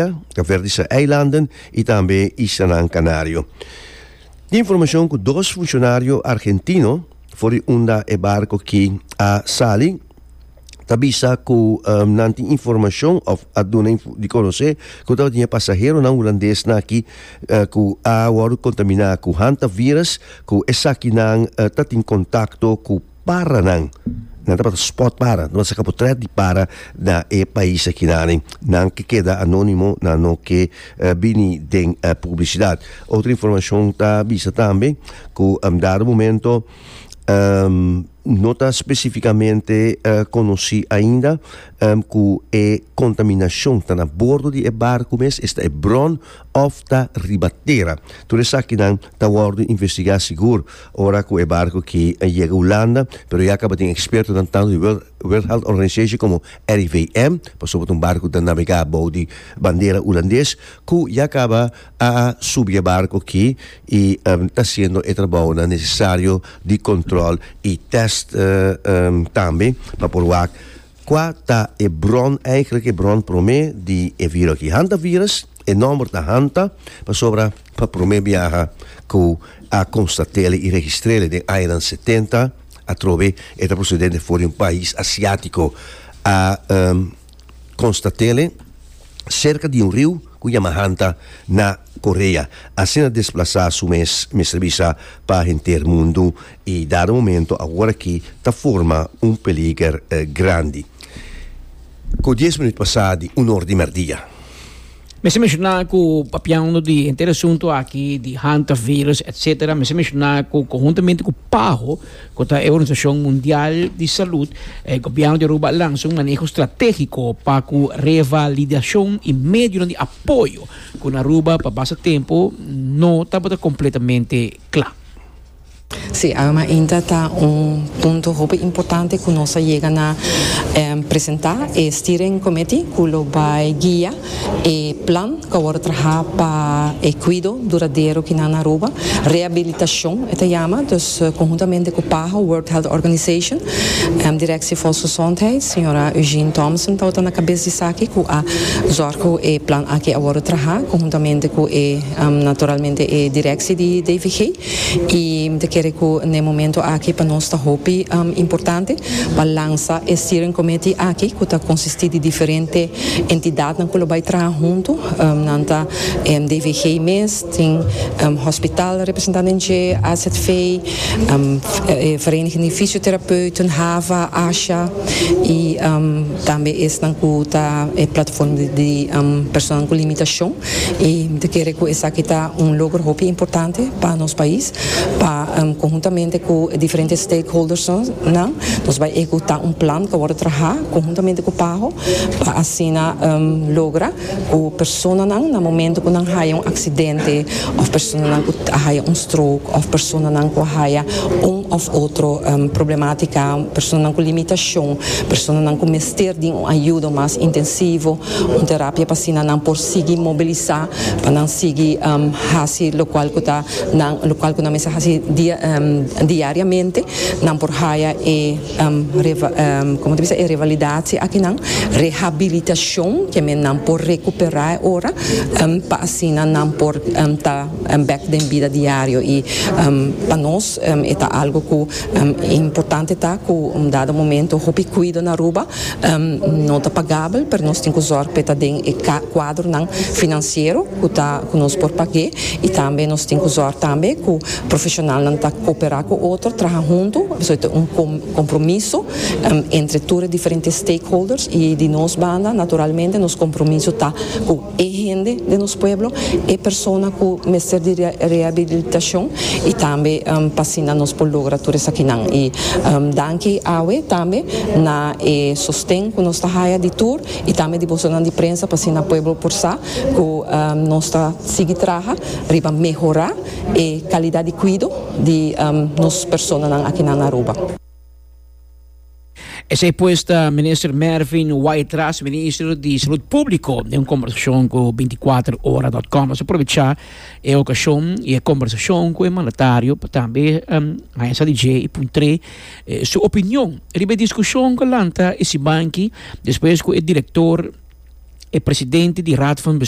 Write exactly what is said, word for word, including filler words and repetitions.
Kaapverdische Eilanden i tambe Islanan Kanario. Tin informashon ku dos funshonario argentino for di unda e barko aki a sali ta bisa ku um, nan tin informashon òf a duna di konosé ku tabatin pasaheronan hulandes aki uh, ku a wòrdu kontaminá ku hantavirus, ku esakinan uh, tabatin kontakto ku paranan. Nan tabata spot para, nan saka portrèt di para na e pais aki nan, nan ke keda anónimo, nan no ke uh, bini den uh, publisidat. Otro informashon ta bisa tambe ku un dado momento um, no ta spesífikamente uh, konosí ainda um, ku e kontaminashon ta na bordo di e barku mes, esta e bron, òf ta riba tera. Tur esakinan ta wòrdu investigá sigur ora ku e barku aki yega Hulanda, pero ya kaba tin ekspertonan tantu di World, World Health Organization komo R I V M, pasobra un barku ta navegá bou di bandera hulandes, ku ya kaba a subi e barku aki i um, ta hasiendo e trabou nesesario di kontròl i test uh, um, tambe pa por wak kua ta e bron, eigenlijk e bron promé di e virus aki. Hantavirus, e nòmber ta hanta, pasobra pa promé biaha ku a konstat'é i registr'é den añanan setenta, atrobe e ta prosedente for di un pais asiátiko, a um, konstat'é serka di un riu ku yama Hanta na Korea. Asina a desplasá su mes, mester bisa, pa henter mundu i dado momento awor aki ta forma un peliger eh, grandi. Ku dies minüt pasá di un or di mèrdia. Mester menshoná ku papiando di henter asuntu aki di hantavirus, et cetera. Mester menshoná ku konhuntamente ku PAHO, ku ta e Organisashon Mundial di Salú, eh, gobièrnu di Aruba a lansa un maneho stratégiko pa ku revalidashon i medio di apoyo ku Aruba pa basta tempu no tabata kompletamente kla. Sí, ainda ta un punto hopi importante ku nos a yega na um, presentá e steering committee ku lo bai guia e plan ku awor traha pa e kuido duradero aki na Aruba, rehabilitashon e ta yama, dus uh, konhuntamente ku PAHO, World Health Organization, um, Directie Volksgezondheid, señora Eugene Thompson ta na kabes di esaki, ku a zorg ku e plan aki awor traha konhuntamente ku e um, naturalmente e direktie di D V G i mi ta kere ku na e momento aki pa nos ta hopi um, importante pa lansa e steering committee aki, ku ta konsistí di diferente entidatnan ku bai traha huntu, um, nan ta um, D V G mes, tin um, hospital representante, A Z V, um, Vereniging di Fysiotherapeuten, HAVA, ASHA i um, tambe esnan ku ta e plataforma di, di um, persona ku limitashon, i mi ta kere ku esaki ta un logro hopi importante pa nos pais pa um, konhuntamente ku diferente stakeholders nan nos bai ehekutá un plan ku awor traha konhuntamente ku PAHO pa asina um, logra ku personanan na momento ku nan haya un aksidente òf personanan ku haya un stroke òf personanan ku haya un òf otro um, problemátika, personanan ku limitashon, personanan ku mester di un ayudo mas intensivo, un terapia pa asina nan por sigui mobilisá, pa nan sigui um, hasi lokual ku ta nan lokual ku nan mester hasi dia, um, diariamente, nan por haya e um, reva, um, kon ta bisa, e revalidatie aki nan, rehabilitashon, ke men nan por rekuperá ora um, pa asina nan por um, ta um, back den bida diario. I um, pa nos um, ta algu ku um, importante ta ku un dado momento hopi kuido na Aruba um, no ta pagabel, pero nos tin ku zorg pa den e kuadronan finansiero ku ta ku nos por paga, i tambe nos tin ku zorg tambe ku profeshonalnan ta kooperá ku otro, traha huntu. Esei ta un kompromiso um, entre tur diferente stakeholders, i di nos banda, naturalmente, nos kompromiso ta ku e hende di nos pueblo, e persona ku mester di rehabilitashon, i tambe um, pa asina nos por logra tur esakinan. I um, danki awe tambe na e sosten ku nos ta haya di tur i tambe di bosonan di prensa pa asina pueblo por sa ku um, nos ta sigui traha riba mehorá e kalidat di kuido di um, nos personanan aki na Aruba. Esei pues ta Minister Mervin Wyatt-Ras, Minister di Salú Públiko, den un kombersashon ku bintikuater ora punto com. Nos a aprovechá e okashon i e kombersashon ku e mandatario pa tambe um, a D J i puntr'é eh, su opinion riba e diskushon ku a lanta e siman aki despues ku e direktor E presidente di Raad van Bestuur.